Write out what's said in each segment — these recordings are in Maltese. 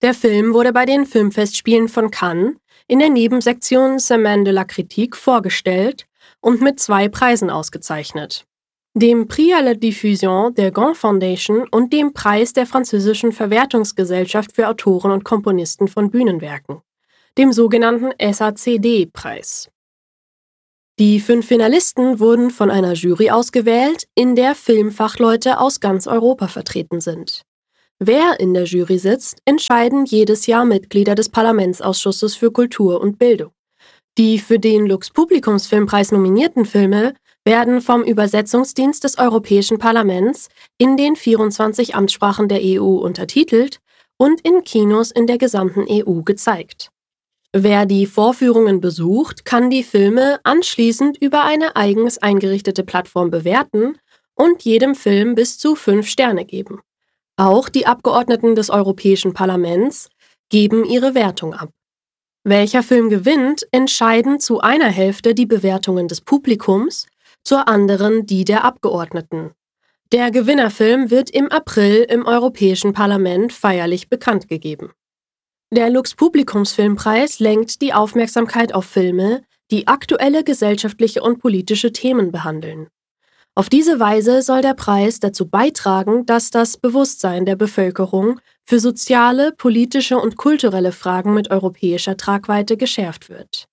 Der Film wurde bei den Filmfestspielen von Cannes in der Nebensektion Semaine de la Critique vorgestellt und mit zwei Preisen ausgezeichnet. Dem Prix à la Diffusion der Gond Foundation und dem Preis der französischen Verwertungsgesellschaft für Autoren und Komponisten von Bühnenwerken, dem sogenannten SACD-Preis. Die fünf Finalisten wurden von einer Jury ausgewählt, in der Filmfachleute aus ganz Europa vertreten sind. Wer in der Jury sitzt, entscheiden jedes Jahr Mitglieder des Parlamentsausschusses für Kultur und Bildung. Die für den Lux Publikumsfilmpreis nominierten Filme werden vom Übersetzungsdienst des Europäischen Parlaments in den 24 Amtssprachen der EU untertitelt und in Kinos in der gesamten EU gezeigt. Wer die Vorführungen besucht, kann die Filme anschließend über eine eigens eingerichtete Plattform bewerten und jedem Film bis zu fünf Sterne geben. Auch die Abgeordneten des Europäischen Parlaments geben ihre Wertung ab. Welcher Film gewinnt, entscheiden zu einer Hälfte die Bewertungen des Publikums, zur anderen die der Abgeordneten. Der Gewinnerfilm wird im April im Europäischen Parlament feierlich bekannt gegeben. Der Lux Publikumsfilmpreis lenkt die Aufmerksamkeit auf Filme, die aktuelle gesellschaftliche und politische Themen behandeln. Auf diese Weise soll der Preis dazu beitragen, dass das Bewusstsein der Bevölkerung für soziale, politische und kulturelle Fragen mit europäischer Tragweite geschärft wird.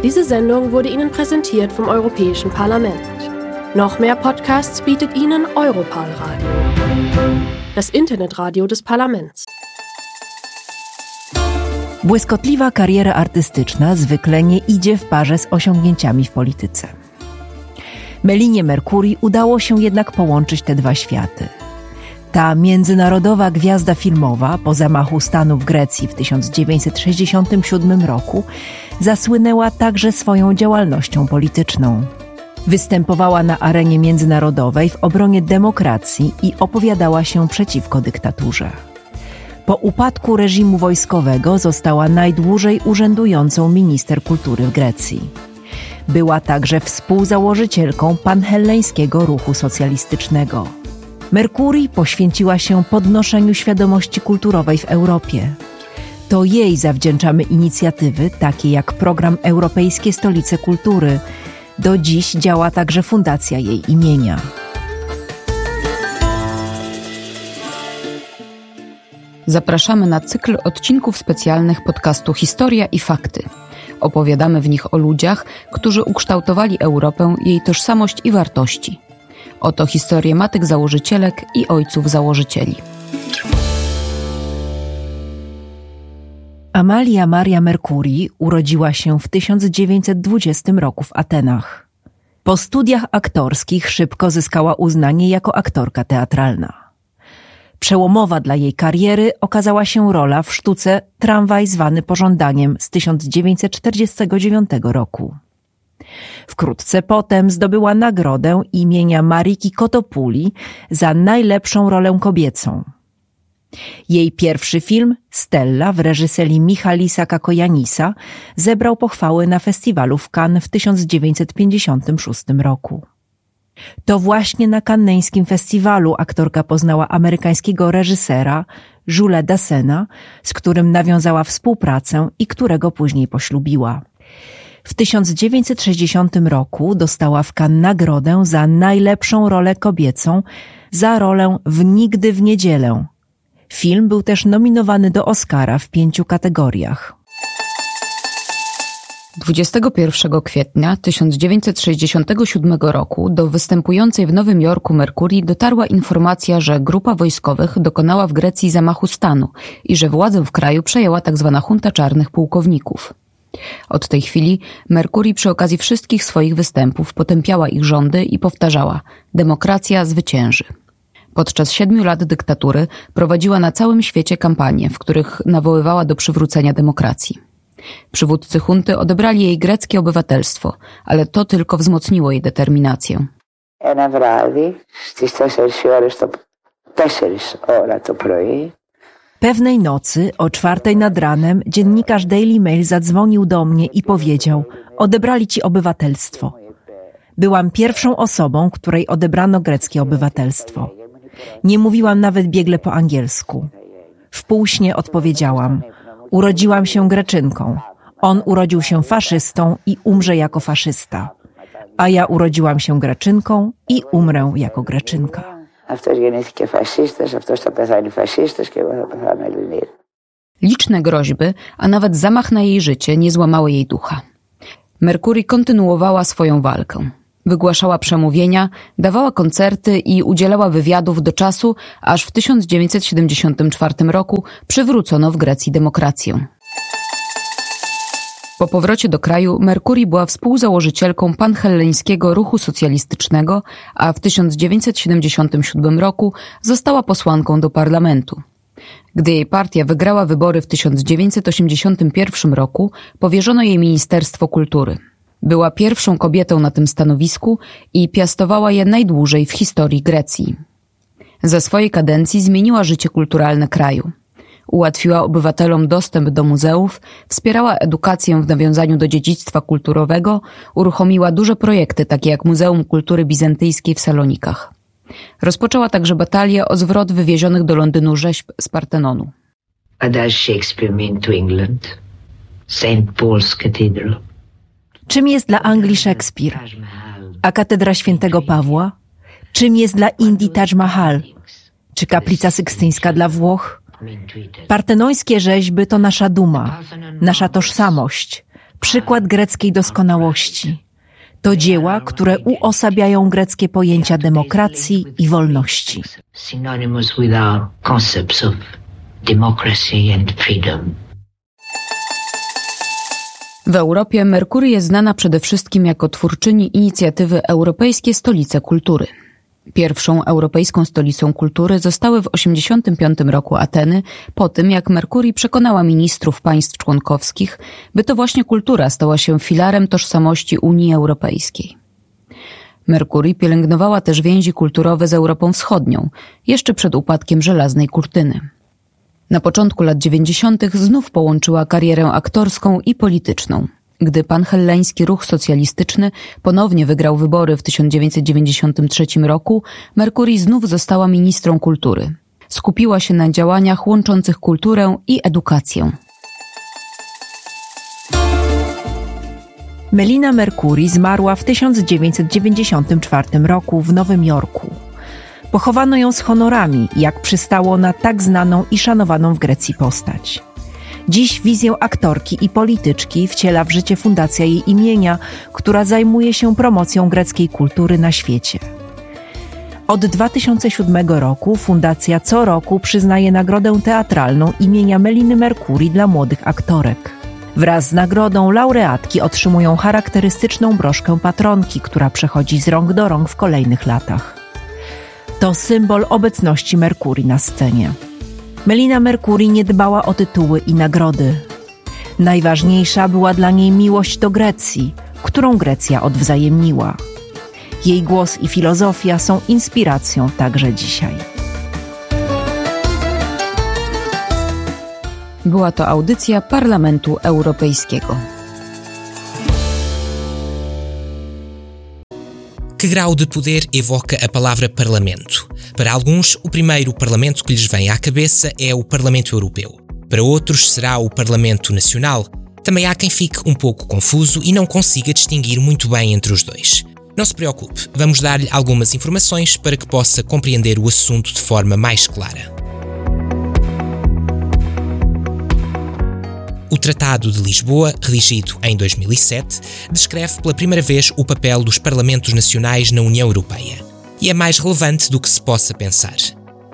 Diese Sendung wurde Ihnen präsentiert vom Europäischen Parlament. Noch mehr Podcasts bietet Ihnen Europal Radio, das Internetradio des Parlaments. Błyskotliwa kariera artystyczna zwykle nie idzie w parze z osiągnięciami w polityce. Melinie Mercury udało się jednak połączyć te dwa światy. Ta międzynarodowa gwiazda filmowa po zamachu stanu w Grecji w 1967 roku zasłynęła także swoją działalnością polityczną. Występowała na arenie międzynarodowej w obronie demokracji i opowiadała się przeciwko dyktaturze. Po upadku reżimu wojskowego została najdłużej urzędującą minister kultury w Grecji. Była także współzałożycielką panhelleńskiego ruchu socjalistycznego. Mercury poświęciła się podnoszeniu świadomości kulturowej w Europie. To jej zawdzięczamy inicjatywy takie jak program Europejskie Stolice Kultury. Do dziś działa także fundacja jej imienia. Zapraszamy na cykl odcinków specjalnych podcastu Historia i Fakty. Opowiadamy w nich o ludziach, którzy ukształtowali Europę, jej tożsamość i wartości. Oto historie matek założycielek i ojców założycieli. Amalia Maria Mercury urodziła się w 1920 roku w Atenach. Po studiach aktorskich szybko zyskała uznanie jako aktorka teatralna. Przełomowa dla jej kariery okazała się rola w sztuce Tramwaj zwany pożądaniem z 1949 roku. Wkrótce potem zdobyła nagrodę imienia Mariki Kotopuli za najlepszą rolę kobiecą. Jej pierwszy film, Stella w reżyserii Michalisa Kakojanisa, zebrał pochwały na festiwalu w Cannes w 1956 roku. To właśnie na kanneńskim festiwalu aktorka poznała amerykańskiego reżysera Julesa Dassena, z którym nawiązała współpracę i którego później poślubiła. W 1960 roku dostała w Cannes nagrodę za najlepszą rolę kobiecą za rolę w Nigdy w niedzielę. Film był też nominowany do Oscara w pięciu kategoriach. 21 kwietnia 1967 roku do występującej w Nowym Jorku Mercury dotarła informacja, że grupa wojskowych dokonała w Grecji zamachu stanu i że władzę w kraju przejęła tzw. junta czarnych pułkowników. Od tej chwili Mercury przy okazji wszystkich swoich występów potępiała ich rządy i powtarzała: demokracja zwycięży. Podczas siedmiu lat dyktatury prowadziła na całym świecie kampanie, w których nawoływała do przywrócenia demokracji. Przywódcy hunty odebrali jej greckie obywatelstwo, ale to tylko wzmocniło jej determinację. Ένα βράδυ στις 4 ώρες το, 4 ώρα το πρωί Pewnej nocy, o czwartej nad ranem, dziennikarz Daily Mail zadzwonił do mnie i powiedział: Odebrali ci obywatelstwo. Byłam pierwszą osobą, której odebrano greckie obywatelstwo. Nie mówiłam nawet biegle po angielsku. W półśnie odpowiedziałam: Urodziłam się Greczynką. On urodził się faszystą i umrze jako faszysta. A ja urodziłam się Greczynką i umrę jako Greczynka. Αυτός γεννήθηκε φασίστας, αυτός θα πεθάνει φασίστας και εγώ θα πεθάνω Ελληνίδα. Liczne groźby, a nawet zamach na jej życie nie złamały jej ducha. Mercury kontynuowała swoją walkę. Wygłaszała przemówienia, dawała koncerty i udzielała wywiadów do czasu, aż w 1974 roku przywrócono w Grecji demokrację. Po powrocie do kraju Mercury była współzałożycielką panhelleńskiego ruchu socjalistycznego, a w 1977 roku została posłanką do parlamentu. Gdy jej partia wygrała wybory w 1981 roku, powierzono jej Ministerstwo Kultury. Była pierwszą kobietą na tym stanowisku i piastowała je najdłużej w historii Grecji. Za swojej kadencji zmieniła życie kulturalne kraju. Ułatwiła obywatelom dostęp do muzeów, wspierała edukację w nawiązaniu do dziedzictwa kulturowego, uruchomiła duże projekty takie jak Muzeum Kultury Bizantyjskiej w Salonikach. Rozpoczęła także batalię o zwrot wywiezionych do Londynu rzeźb z Partenonu. What does Shakespeare mean to England? St. Paul's Cathedral. Czym jest dla Anglii Szekspir? A katedra świętego Pawła? Czym jest dla Indii Taj Mahal? Czy kaplica sykstyńska dla Włoch? Partenońskie rzeźby to nasza duma, nasza tożsamość, przykład greckiej doskonałości. To dzieła, które uosabiają greckie pojęcia demokracji i wolności. Synonymous with our concepts of democracy and freedom. W Europie Merkury jest znana przede wszystkim jako twórczyni inicjatywy Europejskie Stolice Kultury. Pierwszą europejską stolicą kultury zostały w 1985 roku Ateny, po tym jak Merkury przekonała ministrów państw członkowskich, by to właśnie kultura stała się filarem tożsamości Unii Europejskiej. Merkury pielęgnowała też więzi kulturowe z Europą Wschodnią, jeszcze przed upadkiem żelaznej kurtyny. Na początku lat 90. znów połączyła karierę aktorską i polityczną. Gdy panhelleński ruch socjalistyczny ponownie wygrał wybory w 1993 roku, Mercury znów została ministrą kultury. Skupiła się na działaniach łączących kulturę i edukację. Melina Mercury zmarła w 1994 roku w Nowym Jorku. Pochowano ją z honorami, jak przystało na tak znaną i szanowaną w Grecji postać. Dziś wizję aktorki i polityczki wciela w życie fundacja jej imienia, która zajmuje się promocją greckiej kultury na świecie. Od 2007 roku fundacja co roku przyznaje nagrodę teatralną imienia Meliny Mercury dla młodych aktorek. Wraz z nagrodą laureatki otrzymują charakterystyczną broszkę patronki, która przechodzi z rąk do rąk w kolejnych latach. To symbol obecności Mercury na scenie. Melina Mercury nie dbała o tytuły i nagrody. Najważniejsza była dla niej miłość do Grecji, którą Grecja odwzajemniła. Jej głos i filozofia są inspiracją także dzisiaj. Była to audycja Parlamentu Europejskiego. Que grau de poder evoca a palavra parlamento? Para alguns, o primeiro parlamento que lhes vem à cabeça é o Parlamento Europeu. Para outros, será o Parlamento Nacional. Também há quem fique um pouco confuso e não consiga distinguir muito bem entre os dois. Não se preocupe, vamos dar-lhe algumas informações para que possa compreender o assunto de forma mais clara. O Tratado de Lisboa, redigido em 2007, descreve pela primeira vez o papel dos parlamentos nacionais na União Europeia. E é mais relevante do que se possa pensar.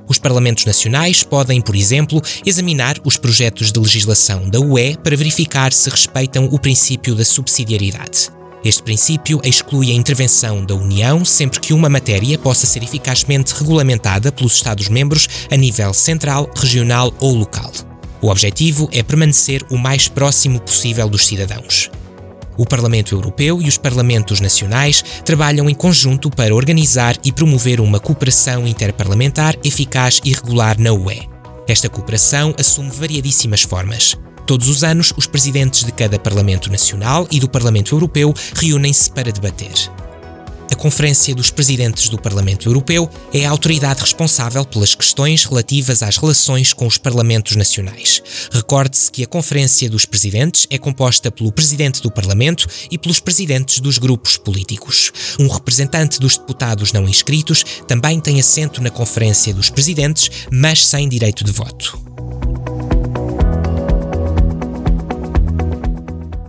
Os parlamentos nacionais podem, por exemplo, examinar os projetos de legislação da UE para verificar se respeitam o princípio da subsidiariedade. Este princípio exclui a intervenção da União sempre que uma matéria possa ser eficazmente regulamentada pelos Estados-membros a nível central, regional ou local. O objetivo é permanecer o mais próximo possível dos cidadãos. O Parlamento Europeu e os Parlamentos Nacionais trabalham em conjunto para organizar e promover uma cooperação interparlamentar eficaz e regular na UE. Esta cooperação assume variadíssimas formas. Todos os anos, os presidentes de cada Parlamento Nacional e do Parlamento Europeu reúnem-se para debater. A Conferência dos Presidentes do Parlamento Europeu é a autoridade responsável pelas questões relativas às relações com os parlamentos nacionais. Recorde-se que a Conferência dos Presidentes é composta pelo Presidente do Parlamento e pelos presidentes dos grupos políticos. Um representante dos deputados não inscritos também tem assento na Conferência dos Presidentes, mas sem direito de voto.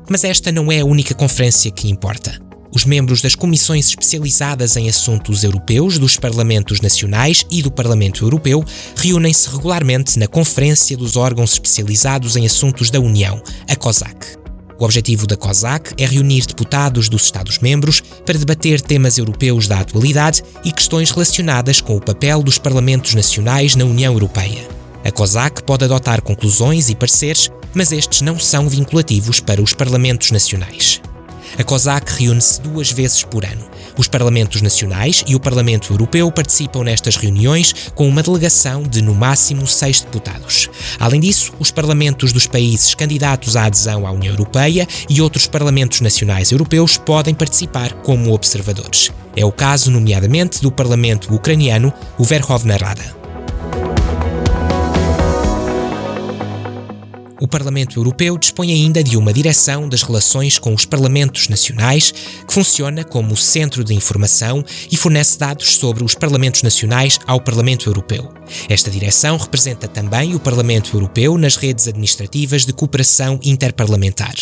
Mas esta não é a única conferência que importa. Os membros das comissões especializadas em assuntos europeus dos parlamentos nacionais e do Parlamento Europeu reúnem-se regularmente na Conferência dos Órgãos Especializados em Assuntos da União, a COSAC. O objetivo da COSAC é reunir deputados dos Estados-membros para debater temas europeus da atualidade e questões relacionadas com o papel dos parlamentos nacionais na União Europeia. A COSAC pode adotar conclusões e pareceres, mas estes não são vinculativos para os parlamentos nacionais. A COSAC reúne-se duas vezes por ano. Os parlamentos nacionais e o Parlamento Europeu participam nestas reuniões com uma delegação de no máximo seis deputados. Além disso, os parlamentos dos países candidatos à adesão à União Europeia e outros parlamentos nacionais europeus podem participar como observadores. É o caso, nomeadamente, do parlamento ucraniano, o Verkhovna Rada. O Parlamento Europeu dispõe ainda de uma direção das relações com os parlamentos nacionais, que funciona como centro de informação e fornece dados sobre os parlamentos nacionais ao Parlamento Europeu. Esta direção representa também o Parlamento Europeu nas redes administrativas de cooperação interparlamentar.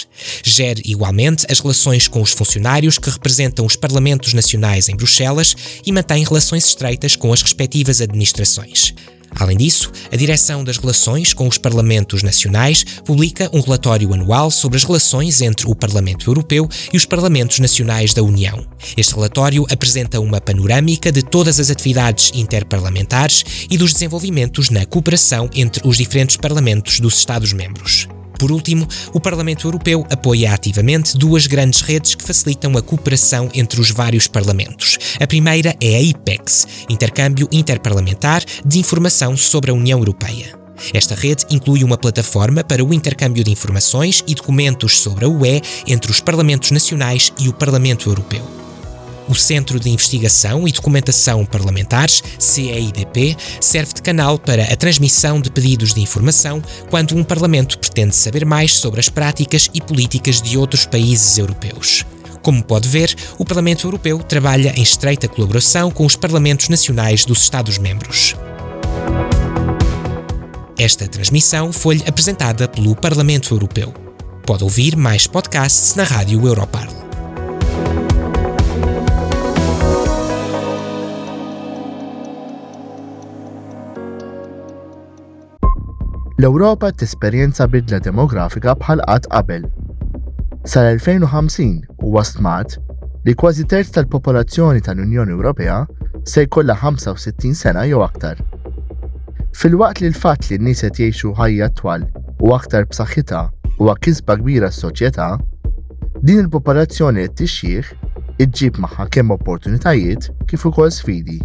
Gere igualmente as relações com os funcionários que representam os parlamentos nacionais em Bruxelas e mantém relações estreitas com as respectivas administrações. Além disso, a Direção das Relações com os Parlamentos Nacionais publica um relatório anual sobre as relações entre o Parlamento Europeu e os Parlamentos Nacionais da União. Este relatório apresenta uma panorâmica de todas as atividades interparlamentares e dos desenvolvimentos na cooperação entre os diferentes parlamentos dos Estados-membros. Por último, o Parlamento Europeu apoia ativamente duas grandes redes que facilitam a cooperação entre os vários parlamentos. A primeira é a IPEX, Intercâmbio Interparlamentar de Informação sobre a União Europeia. Esta rede inclui uma plataforma para o intercâmbio de informações e documentos sobre a UE entre os parlamentos nacionais e o Parlamento Europeu. O Centro de Investigação e Documentação Parlamentares, CEIDP, serve de canal para a transmissão de pedidos de informação quando um parlamento pretende saber mais sobre as práticas e políticas de outros países europeus. Como pode ver, o Parlamento Europeu trabalha em estreita colaboração com os parlamentos nacionais dos Estados-membros. Esta transmissão foi-lhe apresentada pelo Parlamento Europeu. Pode ouvir mais podcasts na Rádio Europarl. L-Ewropa qed tesperjenza bidla demografika bħal qatt qabel. Sal-2050 huwa stmat li kważi terz tal-popolazzjoni tal-Unjoni Ewropea se jkollha 65 sena jew aktar. Filwaqt li l-fatt li n-nies qed jgħixu ħajja twal u aktar b'saħħitha huwa kisba kbira għas-soċjetà, din il-popolazzjoni qed tixjieħ iġġib magħha kemm opportunitajiet kif ukoll sfidi.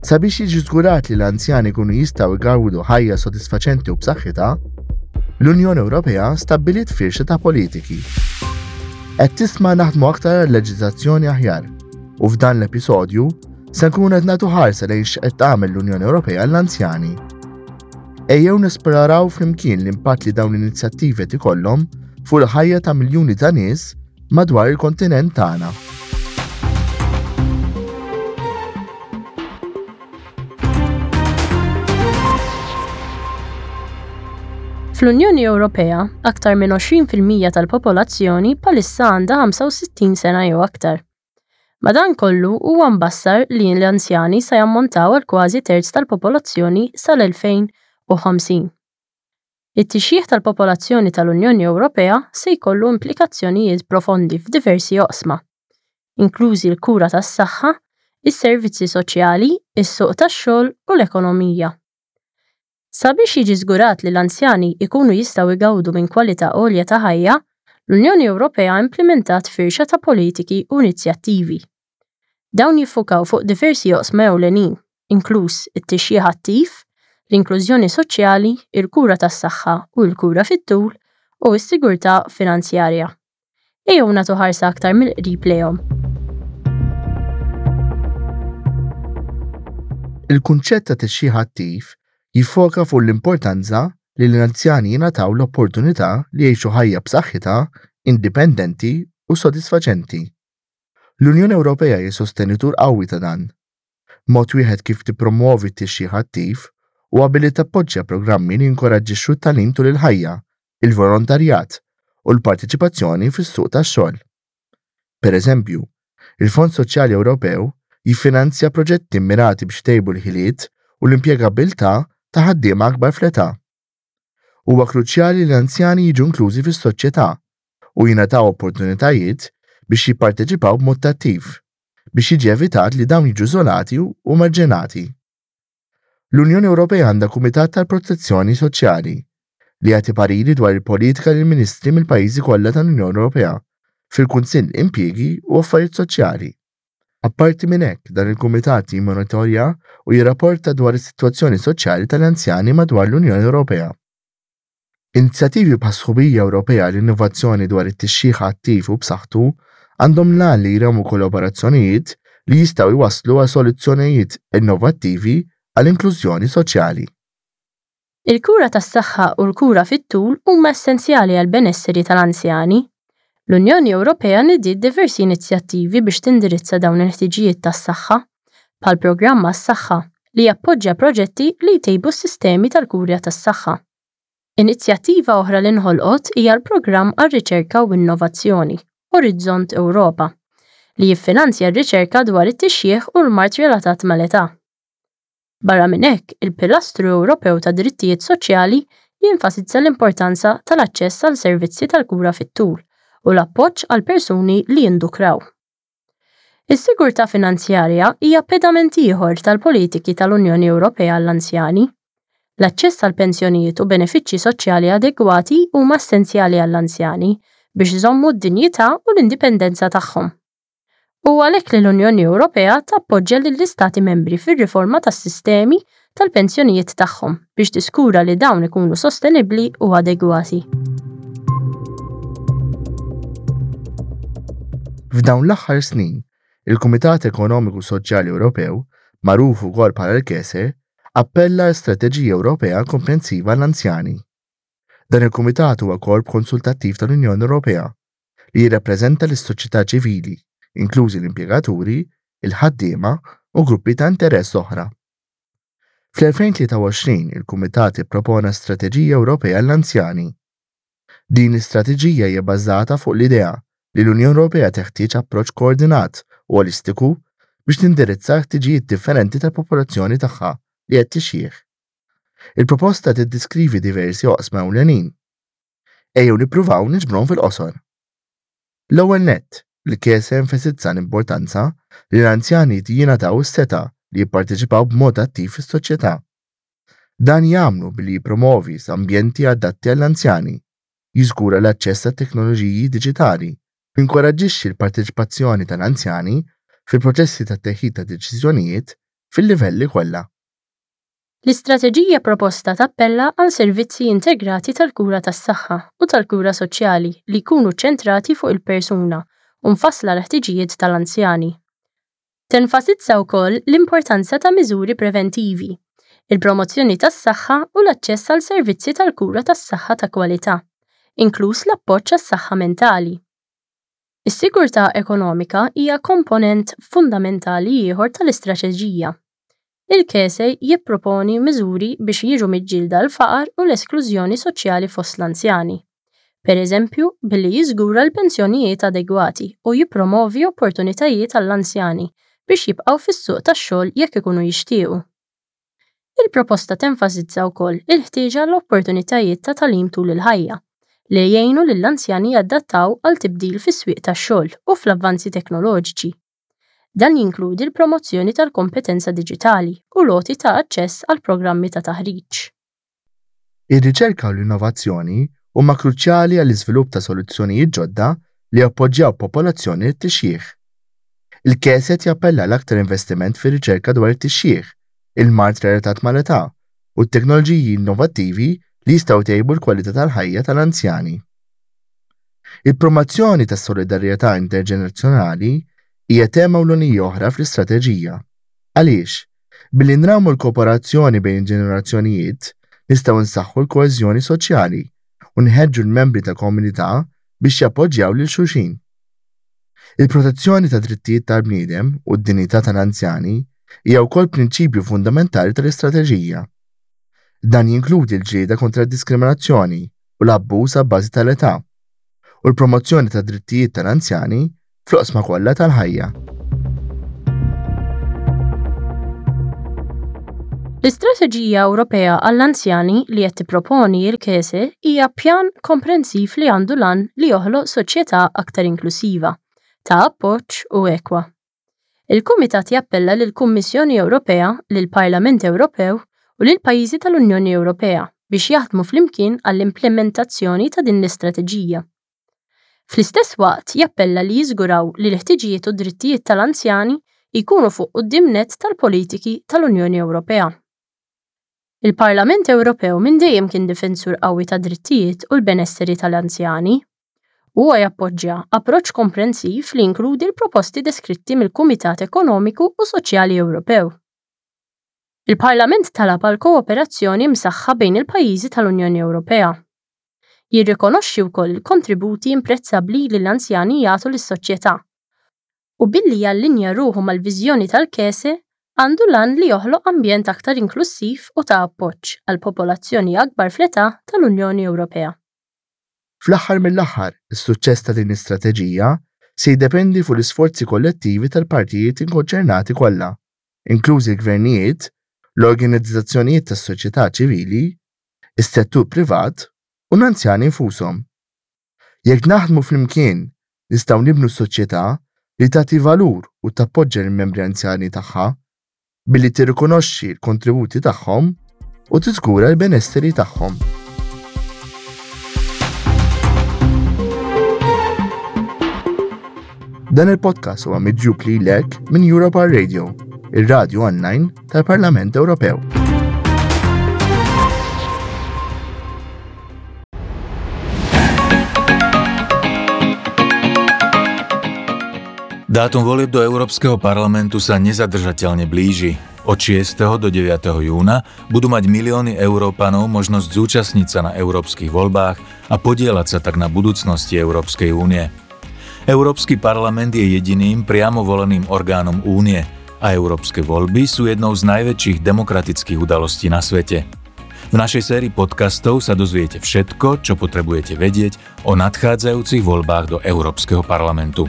Sabiex jiġi żgurat li l-anzjani jkunu jistgħu jgawdu ħajja sodisfaċenti u b'saħħitha, l-Unjoni Ewropea stabbiliet firxa ta' politiki. Qed tisma' naħdmu aktar għal leġiżlazzjoni aħjar u f'dan l-episodju se nkunu qed nagħtu ħarsa lejn x'qed tagħmel l-Unjoni Ewropea għall-anzjani. Ejjew nesploraw flimkien l-impatt li dawn l-inizjattivi qed ikollhom fuq il-ħajja ta' miljuni ta' nies madwar il-kontinent tagħna. Fl-Unjoni Ewropea, aktar minn 20% tal-popolazzjoni bħalissa għandha 65 sena jew aktar. Madankollu, huwa mbassar li l-anzjani sa jammontaw għal kważi terz tal-popolazzjoni sal-2050. It-tixjiħ tal-popolazzjoni tal-Unjoni Ewropea se jkollu implikazzjonijiet profondi f'diversi oqsma, inklużi l-kura tas-saħħa, is-servizzi soċjali, is-suq tax-xogħol u l-ekonomija. Sabiex jiġi żgurat li l-anzjani jkunu jistgħu jgawdu minn kwalità għolja ta' ħajja, l-Unjoni Ewropea implimentat firxa ta' politiki u inizjattivi. Dawn jiffukaw fuq diversi oqsma ewlenin, inkluż it-tixjiħ attiv, l-inklużjoni soċjali, il-kura tas-saħħa u l-kura fit-tul, u s-sigurtà finanzjarja. Ejjew nagħtu ħarsa aktar mill-qrib lejhom. Il-kunċett ta' tixjiħ attiv jiffoka fuq l-importanza li l-anzjani jingħataw l-opportunità li jgħixu ħajja b'saħħitha, indipendenti u sodisfaċenti. L-Unjoni Ewropea hi sostenitur qawwi ta' dan. Mod wieħed kif tippromwovi t-tixjiħ attiv huwa billi tappoġġja programmi li jinkoraġġixxu t-tagħlim tul il-ħajja, il-volontarjat u l-parteċipazzjoni fis-suq tax-xogħol. Pereżempju, il-Fond Soċjali Ewropew jiffinanzja proġetti mmirati biex itejbu l-ħiliet u l-impjegabbiltà ta' ħaddiema akbar fl-età. Huwa kruċjali li l-anzjani jiġu inklużi fis-soċjetà u jingħataw opportunitajiet biex jipparteċipaw b'mod attiv, biex jiġi evitat li dawn jiġu iżolati u marġinati. L-Unjoni Ewropea għandha Kumitat tal-Protezzjoni Soċjali li jagħti pariri dwar il-politika lill-ministri mill-pajjiżi kollha tal-Unjoni Ewropea fil-Kunsill Impjiegi u Affarijiet Soċjali. Apparti minn hekk, dan il-kumitat jimmonitorja u jirrapporta dwar is-sitwazzjoni soċjali tal-anzjani madwar l-Unjoni Ewropea. Inizjattivi bħas-Sħubija Ewropea għall-Innovazzjoni dwar it-Tixjiħ Attiv u b'Saħħtu għandhom l-għan li jrawmu kollaborazzjonijiet li jistgħu jwasslu għal soluzzjonijiet innovattivi għall-inklużjoni soċjali. Il-kura tas-saħħa u l-kura fit-tul huma essenzjali għall-benesseri tal-anzjani. L-Unjoni Ewropea nidiet diversi inizjattivi biex tindirizza dawn il-ħtiġijiet tas-saħħa, bħall-Programm għas-Saħħa, li jappoġġja proġetti li jtejbu s-sistemi tal-kura tas-saħħa. Inizjattiva oħra li nħolqot hija l-Programm għar-Riċerka u Innovazzjoni, Orizzont Ewropa, li jiffinanzja r-riċerka dwar it-tixjiħ u l-mard relatat mal-età. Barra minn hekk, il-Pilastru Ewropew tad-Drittijiet Soċjali jenfasizza l-importanza tal-aċċess għal servizzi tal-kura fit-tul u l-appoġġ għal persuni li jindukraw. Is-sigurtà finanzjarja hija pedament ieħor tal-politiki tal-Unjoni Ewropea għall-anzjani. L-aċċess għal pensjonijiet u benefiċċji soċjali adegwati huma essenzjali għall-anzjani biex iżommu d-dinjità u l-indipendenza tagħhom. Huwa għalhekk li l-Unjoni Ewropea tappoġġja lill-Istati Membri fir-riforma tas-sistemi tal-pensjonijiet tagħhom biex tiżgura li dawn ikunu sostenibbli u adegwati. F'dawn l-aħħar snin, il-Kumitat Ekonomiku Soċjali Ewropew, magħruf ukoll bħala l-KESE, appella għal strateġija Ewropea komprensiva għall-anzjani. Dan il-kumitat huwa korp konsultattiv tal-Unjoni Ewropea li jirrappreżenta lis-soċjetà ċivili, inklużi l-impjegaturi, il-ħaddiema u gruppi ta' interess oħra. Fl-2023 il-Kumitat ippropona Strateġija Ewropea għall-Anzjani. Din l-istrateġija hija bbażata fuq l-idea li l-Unjoni Ewropea teħtieġ approċċ koordinat u olistiku biex tindirizza l-ħtiġijiet differenti tal-popolazzjoni tagħha li qed tixjieħ. Il-proposta tiddiskrivi diversi oqsma ewlenin. Ejjew nippruvaw niġbruhom fil-qosor. L-ewwel nett, il-KESE enfasizza l-importanza li l-anzjani jingħataw is-setgħa li jipparteċipaw b'mod attiv fis-soċjetà. Dan jagħmlu billi jippromovi ambjenti adatti għall-anzjani, jiżgura l-aċċess għat-teknoloġiji diġitali, u jinkoraġġixxi l-parteċipazzjoni tal-anzjani fil-proċessi tat-teħid ta' deċiżjonijiet fil-livelli kollha. L-istrateġija proposta tappella għal servizzi integrati tal-kura tas-saħħa u tal-kura soċjali li jkunu ċċentrati fuq il-persuna u mfassla għall-ħtiġijiet tal-anzjani. Tenfasizza wkoll l-importanza ta' miżuri preventivi, il-promozzjoni tas-saħħa u l-aċċess għal servizzi tal-kura tas-saħħa ta' kwalità, inkluż l-appoġġ għas-saħħa mentali. Is-sigurtà ekonomika hija komponent fundamentali ieħor tal-istrateġija. Il-KESE jipproponi miżuri biex jiġu miġġielda l-faqar u l-esklużjoni soċjali fost l-anzjani, pereżempju billi jiżgura l-pensjonijiet adegwati u jippromovi opportunitajiet għall-anzjani biex jibqgħu fis-suq tax-xogħol jekk ikunu jixtiequ. Il-proposta tenfasizza wkoll il-ħtieġa għal opportunitajiet ta' tagħlim tul il-ħajja, li jgħinu lill-anzjani jadattaw għal tibdil fis-swieq tax-xogħol u fl-avvanzi teknoloġiċi. Dan jinkludi l-promozzjoni tal-kompetenza diġitali u l-għoti ta' aċċess għal programmi ta' taħriġ. Ir-riċerka u l-innovazzjoni huma kruċjali għall-iżvilupp ta' soluzzjonijiet ġodda li jappoġġjaw popolazzjoni li tixjieħ. Il-KESE qed jappella għal aktar investiment fir-riċerka dwar it-tixjiħ, il-mard relatat mal-età, u t-teknoloġiji innovattivi li jistgħu jtejbu l-kwalità tal-ħajja tal-anzjani. Il-promozzjoni tas-solidarjetà interġenerazzjonali hija tema ewlenija oħra fl-istrateġija. Għaliex? Billi nrawmu l-kooperazzjoni bejn il-ġenerazzjonijiet, nistgħu nsaħħu l-koeżjoni soċjali u nħeġġu l-membri ta' komunità biex jappoġġjaw lil xulxin. Il-protezzjoni tad-drittijiet tal-bniedem u d-dinjità tal-anzjani hija wkoll prinċipju fundamentali tal-istrateġija. Dan jinkludi l-ġlieda kontra d-diskriminazzjoni u l-abbuż abbażi tal-età, u l-promozzjoni tad-drittijiet tal-anzjani fl-oqsma kollha tal-ħajja. L-Istrateġija Ewropea għall-Anzjani li qed tipproponi l-KESE hija pjan komprensiv li għandu l-għan li joħloq soċjetà aktar inklusiva, ta' appoġġ u ekwa. Il-Kumitat jappella lill-Kummissjoni Ewropea, lill-Parlament Ewropew u lill-pajjiżi tal-Unjoni Ewropea biex jaħdmu flimkien għall-implimentazzjoni ta' din l-istrateġija. Fl-istess waqt jappella li jiżguraw li l-ħtiġijiet u d-drittijiet tal-anzjani jkunu fuq quddiem nett tal-politiki tal-Unjoni Ewropea. Il-Parlament Ewropew minn dejjem kien difensur qawwi tad-drittijiet u l-benesseri tal-anzjani. Huwa jappoġġja approċċ komprensiv li jinkludi l-proposti deskritti mill-Kumitat Ekonomiku u Soċjali Ewropew. Il-Parlament talab għal kooperazzjoni msaħħa bejn il-pajjiżi tal-Unjoni Ewropea. Jirrikonoxxi wkoll il-kontributi imprezzabbli li l-anzjani jagħtu lis-soċjetà u billi jallinja ruħu mal-viżjoni tal-KESE għandu l-għan li joħloq ambjent aktar inklussiv u ta' appoġġ għal popolazzjoni akbar fl-età tal-Unjoni Ewropea. Fl-aħħar mill-aħħar, is-suċċess ta' din l-istrateġija se jiddependi fuq l-isforzi kollettivi tal-partijiet ikkonċernati kollha, inklużi l-gvernijiet, l-organizzazzjonijiet tas-soċjetà ċivili, is-settur privat u l-anzjani nfushom. Jekk naħdmu flimkien, nistgħu nibnu soċjetà li tagħti valur u tappoġġa lill-membri anzjani tagħha billi tirrikonoxxi l-kontributi tagħhom u tiżgura l-benesseri tagħhom. Dan il-podcast huwa miġjub lilek minn Europa Radio, ir-radju online tal-Parlament Ewropew. Dátum volieb do Európskeho parlamentu sa nezadržateľne blíži. Od 6. do 9. júna budú mať milióny Európanov možnosť zúčastniť sa na európskych voľbách a podieľať sa tak na budúcnosti Európskej únie. Európsky parlament je jediným priamo voleným orgánom únie a európske voľby sú jednou z najväčších demokratických udalostí na svete. V našej sérii podcastov sa dozviete všetko, čo potrebujete vedieť o nadchádzajúcich voľbách do Európskeho parlamentu.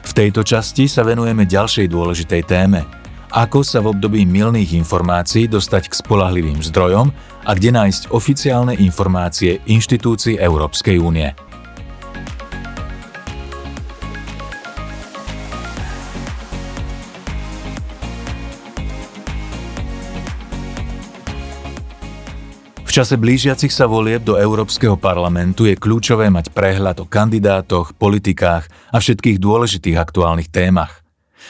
V tejto časti sa venujeme ďalšej dôležitej téme. Ako sa v období mylných informácií dostať k spoľahlivým zdrojom a kde nájsť oficiálne informácie inštitúcií Európskej únie. V čase blížiacich sa volieb do Európskeho parlamentu je kľúčové mať prehľad o kandidátoch, politikách a všetkých dôležitých aktuálnych témach.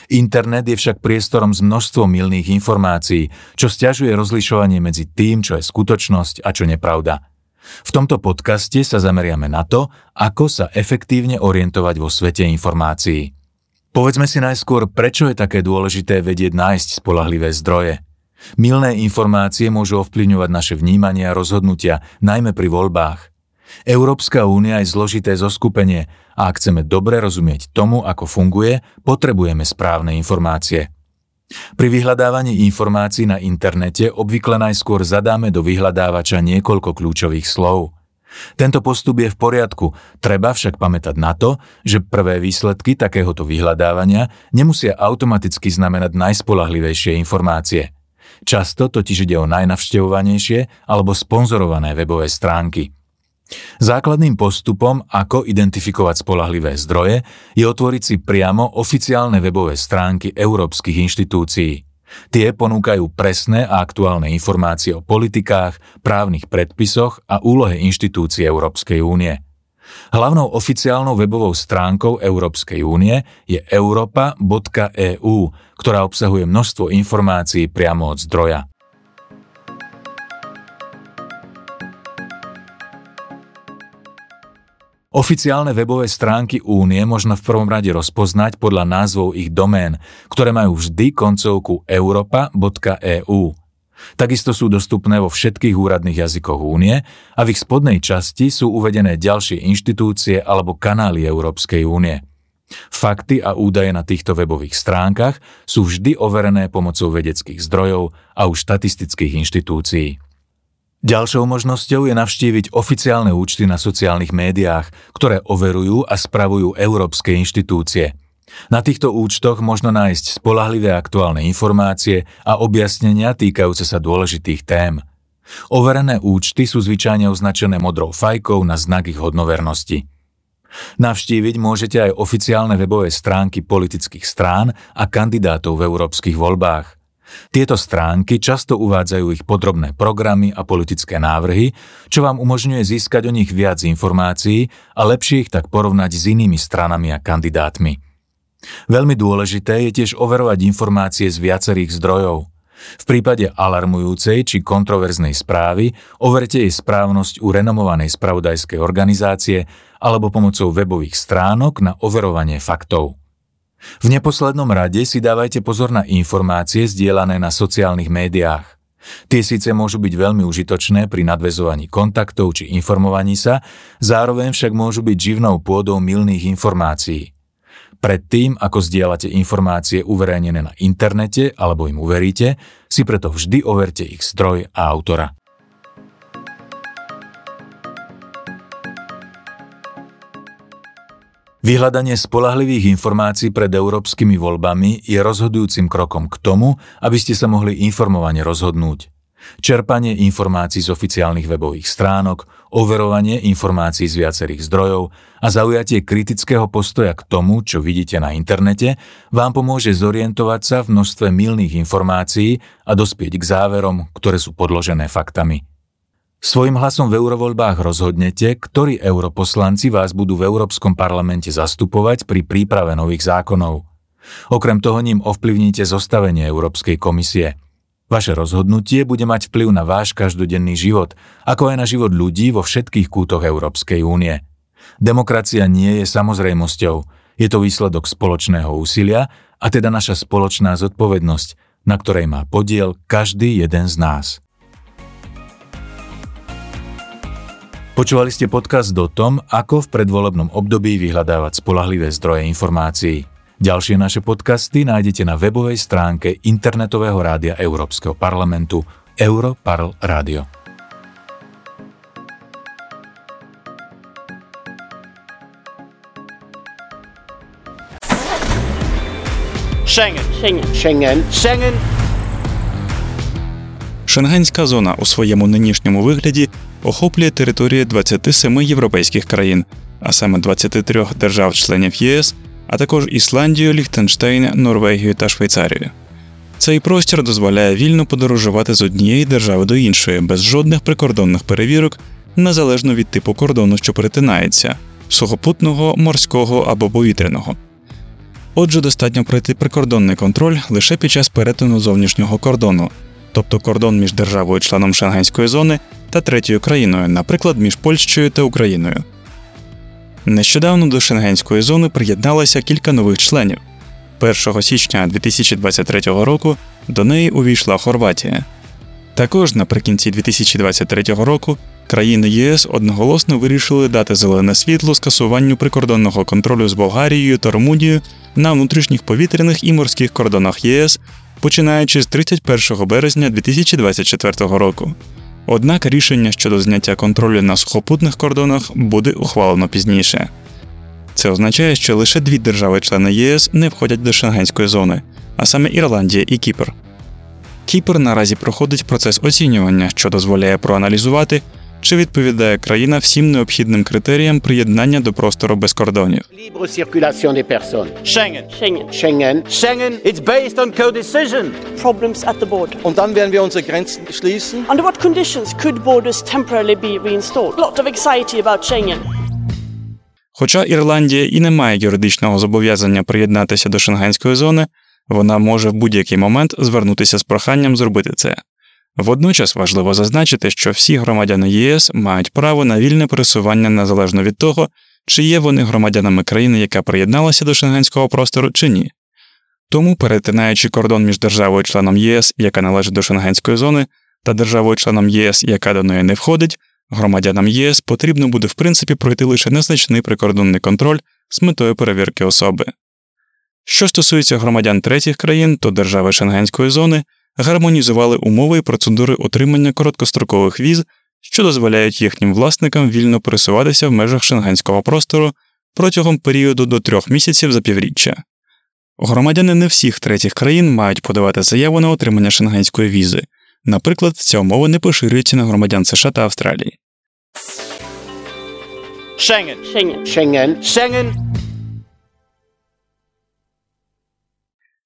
Internet je však priestorom s množstvom mylných informácií, čo sťažuje rozlišovanie medzi tým, čo je skutočnosť a čo nepravda. V tomto podcaste sa zameriame na to, ako sa efektívne orientovať vo svete informácií. Povedzme si najskôr, prečo je také dôležité vedieť nájsť spoľahlivé zdroje. Mylné informácie môžu ovplyvňovať naše vnímanie a rozhodnutia, najmä pri voľbách. Európska únia je zložité zoskupenie a ak chceme dobre rozumieť tomu, ako funguje, potrebujeme správne informácie. Pri vyhľadávaní informácií na internete obvykle najskôr zadáme do vyhľadávača niekoľko kľúčových slov. Tento postup je v poriadku, treba však pamätať na to, že prvé výsledky takéhoto vyhľadávania nemusia automaticky znamenať najspoľahlivejšie informácie. Často totiž ide o najnavštevovanejšie alebo sponzorované webové stránky. Základným postupom, ako identifikovať spoľahlivé zdroje, je otvoriť si priamo oficiálne webové stránky európskych inštitúcií. Tie ponúkajú presné a aktuálne informácie o politikách, právnych predpisoch a úlohe inštitúcií Európskej únie. Hlavnou oficiálnou webovou stránkou Európskej únie je europa.eu, ktorá obsahuje množstvo informácií priamo od zdroja. Oficiálne webové stránky Únie možno v prvom rade rozpoznať podľa názvov ich domén, ktoré majú vždy koncovku europa.eu. Takisto sú dostupné vo všetkých úradných jazykoch Únie a v ich spodnej časti sú uvedené ďalšie inštitúcie alebo kanály Európskej únie. Fakty a údaje na týchto webových stránkach sú vždy overené pomocou vedeckých zdrojov a už štatistických inštitúcií. Ďalšou možnosťou je navštíviť oficiálne účty na sociálnych médiách, ktoré overujú a spravujú európske inštitúcie. Na týchto účtoch možno nájsť spoľahlivé aktuálne informácie a objasnenia týkajúce sa dôležitých tém. Overené účty sú zvyčajne označené modrou fajkou na znak ich hodnovernosti. Navštíviť môžete aj oficiálne webové stránky politických strán a kandidátov v európskych voľbách. Tieto stránky často uvádzajú ich podrobné programy a politické návrhy, čo vám umožňuje získať o nich viac informácií a lepšie ich tak porovnať s inými stranami a kandidátmi. Veľmi dôležité je tiež overovať informácie z viacerých zdrojov. V prípade alarmujúcej či kontroverznej správy overte jej správnosť u renomovanej spravodajskej organizácie alebo pomocou webových stránok na overovanie faktov. V neposlednom rade si dávajte pozor na informácie zdieľané na sociálnych médiách. Tie síce môžu byť veľmi užitočné pri nadväzovaní kontaktov či informovaní sa, zároveň však môžu byť živnou pôdou mylných informácií. Predtým, ako zdieľate informácie uverejnené na internete alebo im uveríte, si preto vždy overte ich zdroj a autora. Vyhľadanie spoľahlivých informácií pred európskymi voľbami je rozhodujúcim krokom k tomu, aby ste sa mohli informovane rozhodnúť. Čerpanie informácií z oficiálnych webových stránok, overovanie informácií z viacerých zdrojov a zaujatie kritického postoja k tomu, čo vidíte na internete, vám pomôže zorientovať sa v množstve mylných informácií a dospieť k záverom, ktoré sú podložené faktami. Svojím hlasom v eurovoľbách rozhodnete, ktorí europoslanci vás budú v Európskom parlamente zastupovať pri príprave nových zákonov. Okrem toho ním ovplyvníte zostavenie Európskej komisie. Vaše rozhodnutie bude mať vplyv na váš každodenný život, ako aj na život ľudí vo všetkých kútoch Európskej únie. Demokracia nie je samozrejmosťou, je to výsledok spoločného úsilia a teda naša spoločná zodpovednosť, na ktorej má podiel každý jeden z nás. Počúvali ste podcast o tom, ako v predvolebnom období vyhľadávať spoľahlivé zdroje informácií. Ďalšie naše podcasty nájdete na webovej stránke internetového rádia Európskeho parlamentu Europarl Radio. Schengen. Schengen. Schengen. Schengen. Шенгенська зона у своєму нинішньому вигляді охоплює територію 27 європейських країн, а саме 23 держав-членів ЄС, а також Ісландію, Ліхтенштейн, Норвегію та Швейцарію. Цей простір дозволяє вільно подорожувати з однієї держави до іншої, без жодних прикордонних перевірок, незалежно від типу кордону, що перетинається – сухопутного, морського або повітряного. Отже, достатньо пройти прикордонний контроль лише під час перетину зовнішнього кордону, тобто кордон між державою-членом Шенгенської зони та третьою країною, наприклад, між Польщею та Україною. Нещодавно до Шенгенської зони приєдналося кілька нових членів. 1 січня 2023 року до неї увійшла Хорватія. Також наприкінці 2023 року країни ЄС одноголосно вирішили дати зелене світло скасуванню прикордонного контролю з Болгарією та Румунією на внутрішніх повітряних і морських кордонах ЄС, починаючи з 31 березня 2024 року. Однак рішення щодо зняття контролю на сухопутних кордонах буде ухвалено пізніше. Це означає, що лише дві держави-члени ЄС не входять до Шенгенської зони, а саме Ірландія і Кіпр. Кіпр наразі проходить процес оцінювання, що дозволяє проаналізувати, чи відповідає країна всім необхідним критеріям приєднання до простору без кордонів. Libre circulation des personnes. Schengen. Schengen. Schengen. Schengen. It's based on co-decision. Problems at the border. Und dann werden wir unsere Grenzen schließen. Under what conditions could borders temporarily be reinstalled? Lot of anxiety about Schengen. Хоча Ірландія і не має юридичного зобов'язання приєднатися до Шенгенської зони, вона може в будь-який момент звернутися з проханням зробити це. Водночас важливо зазначити, що всі громадяни ЄС мають право на вільне пересування незалежно від того, чи є вони громадянами країни, яка приєдналася до шенгенського простору, чи ні. Тому, перетинаючи кордон між державою-членом ЄС, яка належить до шенгенської зони, та державою-членом ЄС, яка до неї не входить, громадянам ЄС потрібно буде в принципі пройти лише незначний прикордонний контроль з метою перевірки особи. Що стосується громадян третіх країн, то держави Шенгенської зони гармонізували умови і процедури отримання короткострокових віз, що дозволяють їхнім власникам вільно пересуватися в межах шенгенського простору протягом періоду до 3 місяців за півріччя. Громадяни не всіх третіх країн мають подавати заяву на отримання шенгенської візи. Наприклад, ця умова не поширюється на громадян США та Австралії. Schengen. Schengen. Schengen. Schengen.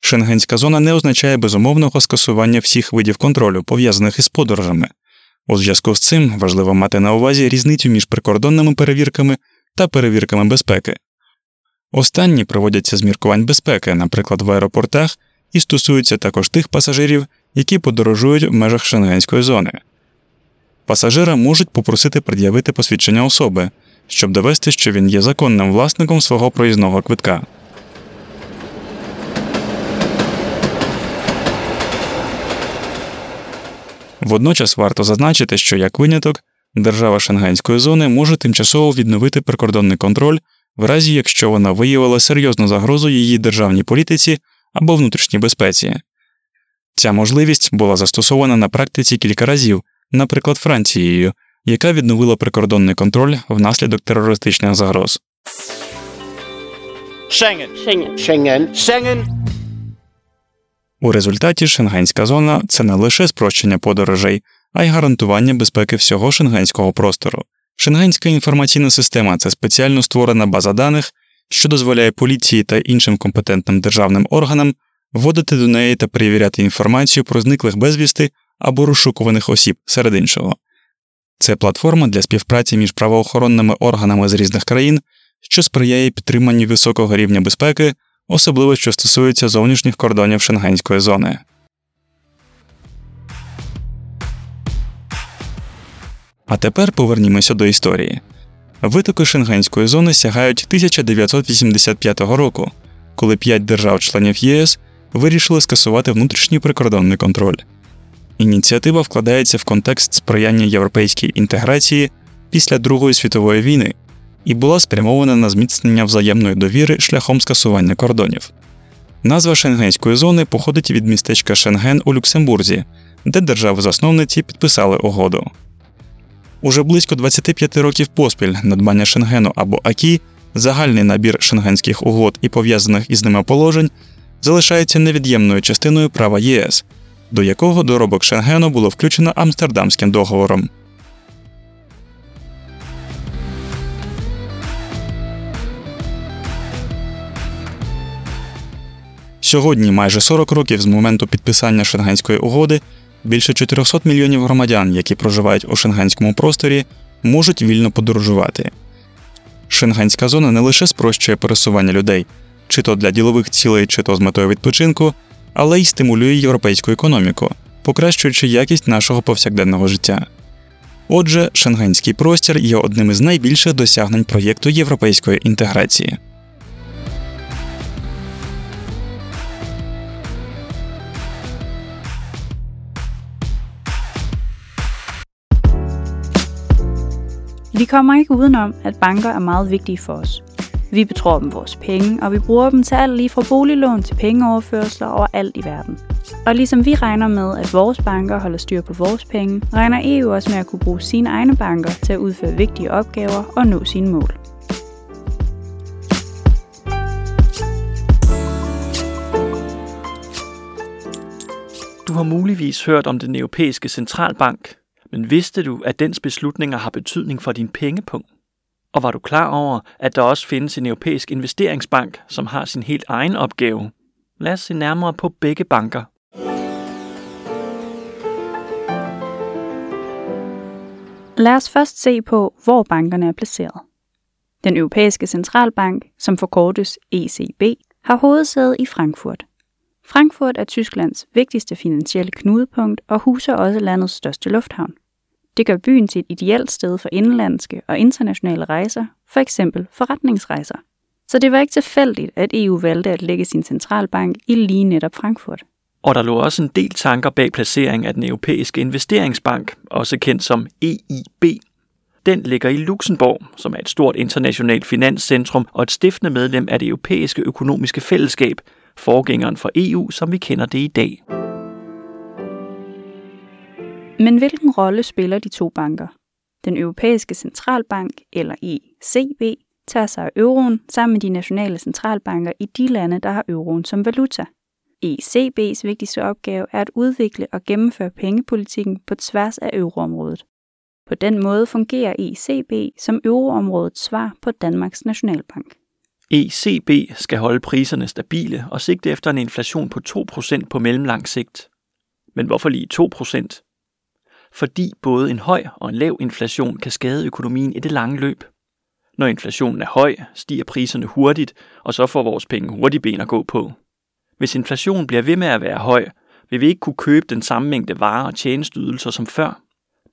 Шенгенська зона не означає безумовного скасування всіх видів контролю, пов'язаних із подорожами. У зв'язку з цим важливо мати на увазі різницю між прикордонними перевірками та перевірками безпеки. Останні проводяться з міркувань безпеки, наприклад, в аеропортах, і стосуються також тих пасажирів, які подорожують в межах Шенгенської зони. Пасажира можуть попросити пред'явити посвідчення особи, щоб довести, що він є законним власником свого проїзного квитка. Водночас варто зазначити, що як виняток, держава Шенгенської зони може тимчасово відновити прикордонний контроль в разі, якщо вона виявила серйозну загрозу її державній політиці або внутрішній безпеці. Ця можливість була застосована на практиці кілька разів, наприклад, Францією, яка відновила прикордонний контроль внаслідок терористичних загроз. Schengen. Schengen. Schengen. Schengen. У результаті Шенгенська зона – це не лише спрощення подорожей, а й гарантування безпеки всього шенгенського простору. Шенгенська інформаційна система – це спеціально створена база даних, що дозволяє поліції та іншим компетентним державним органам вводити до неї та перевіряти інформацію про зниклих безвісти або розшукуваних осіб, серед іншого. Це платформа для співпраці між правоохоронними органами з різних країн, що сприяє підтриманню високого рівня безпеки, особливо що стосується зовнішніх кордонів Шенгенської зони. А тепер повернімося до історії. Витоки Шенгенської зони сягають 1985 року, коли 5 держав-членів ЄС вирішили скасувати внутрішній прикордонний контроль. Ініціатива вкладається в контекст сприяння європейській інтеграції після Другої світової війни і була спрямована на зміцнення взаємної довіри шляхом скасування кордонів. Назва Шенгенської зони походить від містечка Шенген у Люксембурзі, де держави-засновниці підписали угоду. Уже близько 25 років поспіль надбання Шенгену або АКІ, загальний набір шенгенських угод і пов'язаних із ними положень, залишається невід'ємною частиною права ЄС, до якого доробок Шенгену було включено Амстердамським договором. Сьогодні, майже 40 років з моменту підписання Шенгенської угоди, більше 400 мільйонів громадян, які проживають у шенгенському просторі, можуть вільно подорожувати. Шенгенська зона не лише спрощує пересування людей, чи то для ділових цілей, чи то з метою відпочинку, але й стимулює європейську економіку, покращуючи якість нашого повсякденного життя. Отже, шенгенський простір є одним із найбільших досягнень проєкту європейської інтеграції. Vi kommer ikke udenom, at banker er meget vigtige for os. Vi betror dem vores penge, og vi bruger dem til alt lige fra boliglån til pengeoverførsler overalt i verden. Og ligesom vi regner med, at vores banker holder styr på vores penge, regner EU også med at kunne bruge sine egne banker til at udføre vigtige opgaver og nå sine mål. Du har muligvis hørt om den europæiske centralbank, men vidste du, at dens beslutninger har betydning for din pengepung? Og var du klar over, at der også findes en europæisk investeringsbank, som har sin helt egen opgave? Lad os se nærmere på begge banker. Lad os først se på, hvor bankerne er placeret. Den europæiske centralbank, som forkortes ECB, har hovedsæde i Frankfurt. Frankfurt er Tysklands vigtigste finansielle knudepunkt og huser også landets største lufthavn. Det gør byen til et ideelt sted for indenlandske og internationale rejser, for eksempel forretningsrejser. Så det var ikke tilfældigt, at EU valgte at lægge sin centralbank i lige netop Frankfurt. Og der lå også en del tanker bag placeringen af den europæiske investeringsbank, også kendt som EIB. Den ligger i Luxembourg, som er et stort internationalt finanscentrum og et stiftende medlem af det europæiske økonomiske fællesskab, forgængeren for EU, som vi kender det i dag. Men hvilken rolle spiller de to banker? Den europæiske centralbank, eller ECB, tager sig af euroen sammen med de nationale centralbanker i de lande, der har euroen som valuta. ECB's vigtigste opgave er at udvikle og gennemføre pengepolitikken på tværs af euroområdet. På den måde fungerer ECB som euroområdets svar på Danmarks Nationalbank. ECB skal holde priserne stabile og sigte efter en inflation på 2% på mellemlang sigt. Men hvorfor lige 2%? Fordi både en høj og en lav inflation kan skade økonomien i det lange løb. Når inflationen er høj, stiger priserne hurtigt, og så får vores penge hurtigt ben at gå på. Hvis inflationen bliver ved med at være høj, vil vi ikke kunne købe den samme mængde varer og tjenesteydelser som før.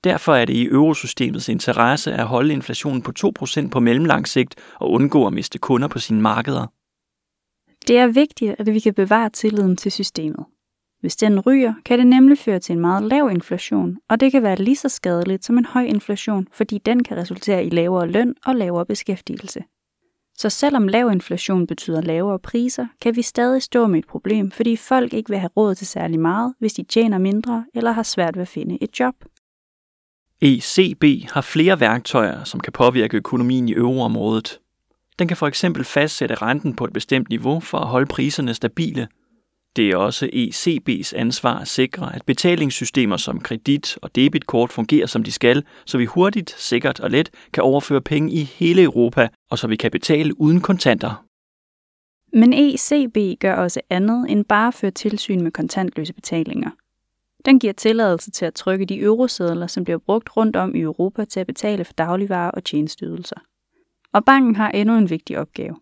Derfor er det i eurosystemets interesse at holde inflationen på 2% på mellemlang sigt og undgå at miste kunder på sine markeder. Det er vigtigt, at vi kan bevare tilliden til systemet. Hvis den ryger, kan det nemlig føre til en meget lav inflation, og det kan være lige så skadeligt som en høj inflation, fordi den kan resultere i lavere løn og lavere beskæftigelse. Så selvom lav inflation betyder lavere priser, kan vi stadig stå med et problem, fordi folk ikke vil have råd til særlig meget, hvis de tjener mindre eller har svært ved at finde et job. ECB har flere værktøjer, som kan påvirke økonomien i euroområdet. Den kan for eksempel fastsætte renten på et bestemt niveau for at holde priserne stabile. Det er også ECB's ansvar at sikre, at betalingssystemer som kredit- og debitkort fungerer som de skal, så vi hurtigt, sikkert og let kan overføre penge i hele Europa, og så vi kan betale uden kontanter. Men ECB gør også andet end bare at føre tilsyn med kontantløse betalinger. Den giver tilladelse til at trykke de eurosedler, som bliver brugt rundt om i Europa til at betale for dagligvarer og tjenesteydelser. Og banken har endnu en vigtig opgave.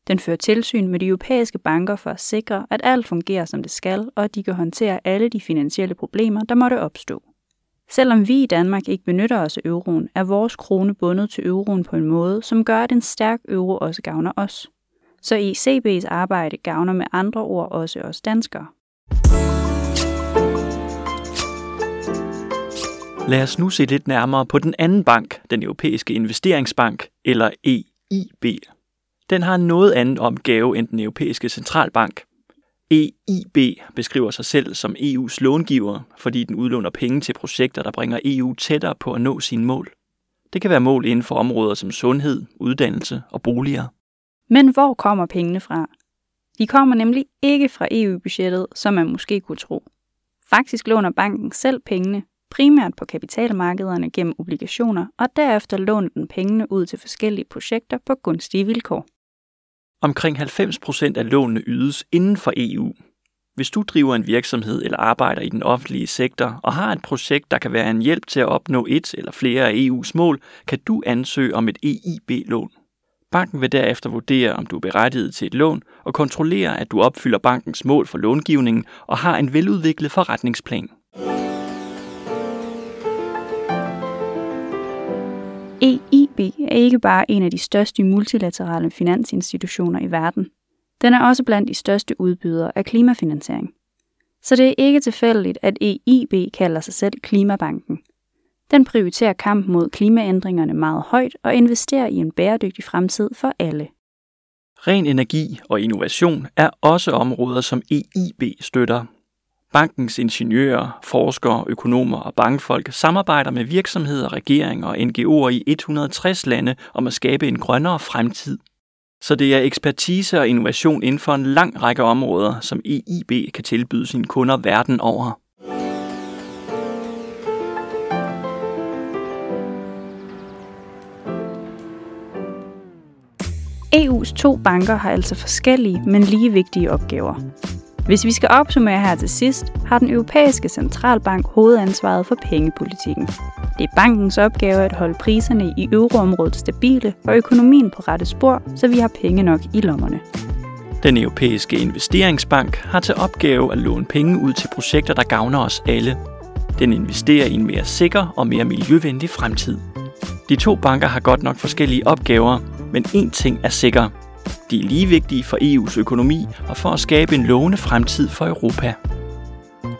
Den fører tilsyn med de europæiske banker for at sikre, at alt fungerer som det skal, og at de kan håndtere alle de finansielle problemer, der måtte opstå. Selvom vi i Danmark ikke benytter os af euroen, er vores krone bundet til euroen på en måde, som gør, at en stærk euro også gavner os. Så ECB's arbejde gavner med andre ord også os danskere. Lad os nu se lidt nærmere på den anden bank, den europæiske investeringsbank, eller EIB. Den har en noget anden opgave end den europæiske centralbank. EIB beskriver sig selv som EU's långiver, fordi den udlåner penge til projekter, der bringer EU tættere på at nå sine mål. Det kan være mål inden for områder som sundhed, uddannelse og boliger. Men hvor kommer pengene fra? De kommer nemlig ikke fra EU-budgettet, som man måske kunne tro. Faktisk låner banken selv pengene, primært på kapitalmarkederne gennem obligationer, og derefter låner den pengene ud til forskellige projekter på gunstige vilkår. Omkring 90% af lånene ydes inden for EU. Hvis du driver en virksomhed eller arbejder i den offentlige sektor og har et projekt, der kan være en hjælp til at opnå et eller flere af EU's mål, kan du ansøge om et EIB-lån. Banken vil derefter vurdere, om du er berettiget til et lån og kontrollere, at du opfylder bankens mål for långivningen og har en veludviklet forretningsplan. EIB er ikke bare en af de største multilaterale finansinstitutioner i verden. Den er også blandt de største udbydere af klimafinansiering. Så det er ikke tilfældigt, at EIB kalder sig selv Klimabanken. Den prioriterer kampen mod klimaændringerne meget højt og investerer i en bæredygtig fremtid for alle. Ren energi og innovation er også områder, som EIB støtter. Bankens ingeniører, forskere, økonomer og bankfolk samarbejder med virksomheder, regeringer og NGO'er i 160 lande om at skabe en grønnere fremtid. Så det er ekspertise og innovation inden for en lang række områder, som EIB kan tilbyde sine kunder verden over. EU's to banker har altså forskellige, men lige vigtige opgaver. Hvis vi skal opsummere her til sidst, har den europæiske centralbank hovedansvaret for pengepolitikken. Det er bankens opgave at holde priserne i euroområdet stabile og økonomien på rette spor, så vi har penge nok i lommerne. Den europæiske investeringsbank har til opgave at låne penge ud til projekter, der gavner os alle. Den investerer i en mere sikker og mere miljøvenlig fremtid. De to banker har godt nok forskellige opgaver, men én ting er sikker. De er lige vigtige for EU's økonomi og for at skabe en lovende fremtid for Europa.